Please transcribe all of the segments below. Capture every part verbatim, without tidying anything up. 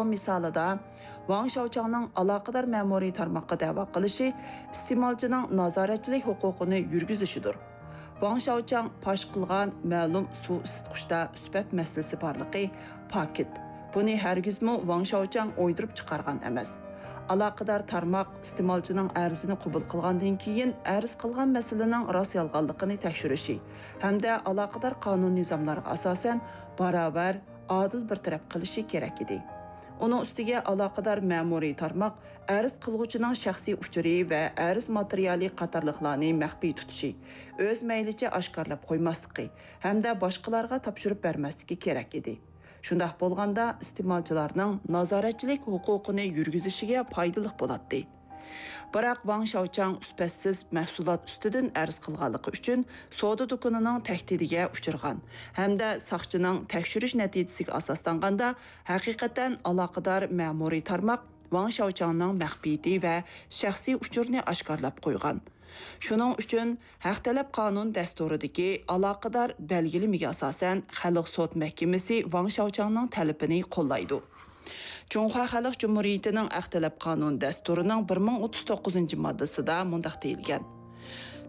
مىسالىدا، ۋاڭ شياۋچياڭنىڭ ئالاقىدار مەمۇرىي تارماققا دەۋا قىلىشى ئىستېمالچىنىڭ نازارەتچىلىك ھوقۇقىنى يۈرگۈزۈشىدۇر. ۋاڭ شياۋچياڭ پاش قىلغان مەلۇم سۇ ئىسسىتقۇچتا سۈپەت مەسىلىسى بارلىقى پاكىت. بۇنى ھەرگىزمۇ ۋاڭ شياۋچياڭ ئويدۇرۇپ چىقارغان ئەمەس. ئالاقىدار تارماق ئىستېمالچىنىڭ ئەرزىنى قوبۇل قىلغاندىن كېيىن، ئەرز قىلغان مەسىلىنىڭ راست يالغانلىقىنى تەكشۈرۈشى ھەمدە ئالاقىدار قانۇن نىزاملارغا ئاساسەن باراۋەر، ئادىل بىر تەرەپ قىلىشى كېرەك ئىدى. ئۇنىڭ ئۈستىگە ئالاقىدار مەمۇرىي تارماق ئەرز قىلغۇچىنىڭ شەخسىي ئۇچۇرى ۋە ئەرز ماتېرىيالى قاتارلىقلارنى مەخپىي تۇتۇشى، ئۆز مەيلىچە ئاشكارىلاپ قويماسلىقى ھەمدە باشقىلارغا تاپشۇرۇپ بەرمەسلىكى كېرەك ئىدى. شۇنداق بولغاندا، ئىستېمالچىلارنىڭ نازارەتچىلىك ھوقۇقىنى يۈرگۈزۈشىگە پايدىلىق بولاتتى. بىراق، ۋاڭ شياۋچياڭ سۈپەتسىز مەھسۇلات ئۈستىدىن ئەرز قىلغانلىقى ئۈچۈن سودا دۇكىنىنىڭ تەھدىتىگە ئۇچرىغان ھەمدە ساقچىنىڭ تەكشۈرۈش نەتىجىسىگە ئاساسلانغاندا، ھەقىقەتەن ئالاقىدار مەمۇرىي تارماق ۋاڭ شياۋچياڭنىڭ مەخپىيىتى ۋە شەخسىي ئۇچۇرىنى ئاشكارىلاپ قويغان. شۇنىڭ ئۈچۈن ھەق تەلەپ قانۇن دەستۇرىدىكى ئالاقىدار بەلگىلىمىگە ئاساسەن، خەلق سوت مەھكىمىسى ۋاڭ شياۋچياڭنىڭ تەلىپىنى قوللايدۇ. جۇڭخۇا خەلق جۇمھۇرىيىتىنىڭ ھەق تەلەپ قانۇن دەستۇرىنىڭ بىر مىڭ ئوتتۇز توققۇزىنچى ماددىسىدا مۇنداق دېيىلگەن: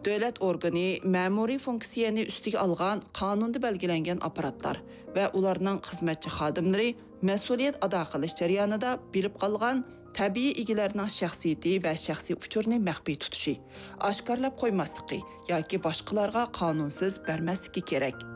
دۆلەت ئورگىنى مەمۇرىي فۇنكسىيەنى ئۈستىگە ئالغان قانۇندا بەلگىلەنگەن ئاپپاراتلار ۋە ئۇلارنىڭ خىزمەتچى خادىملىرى مەسئۇلىيەت ئادا قىلىش جەريانىدا بىلىپ قالغان تەبىئىي ئىگىلەرنىڭ شەخسىيىتى ۋە شەخسىي ئۇچۇرىنى مەخپىي تۇتۇشى، ئاشكارىلاپ قويماسلىقى ياكى باشقىلارغا قانۇنسىز بەرمەسلىكى كېرەك.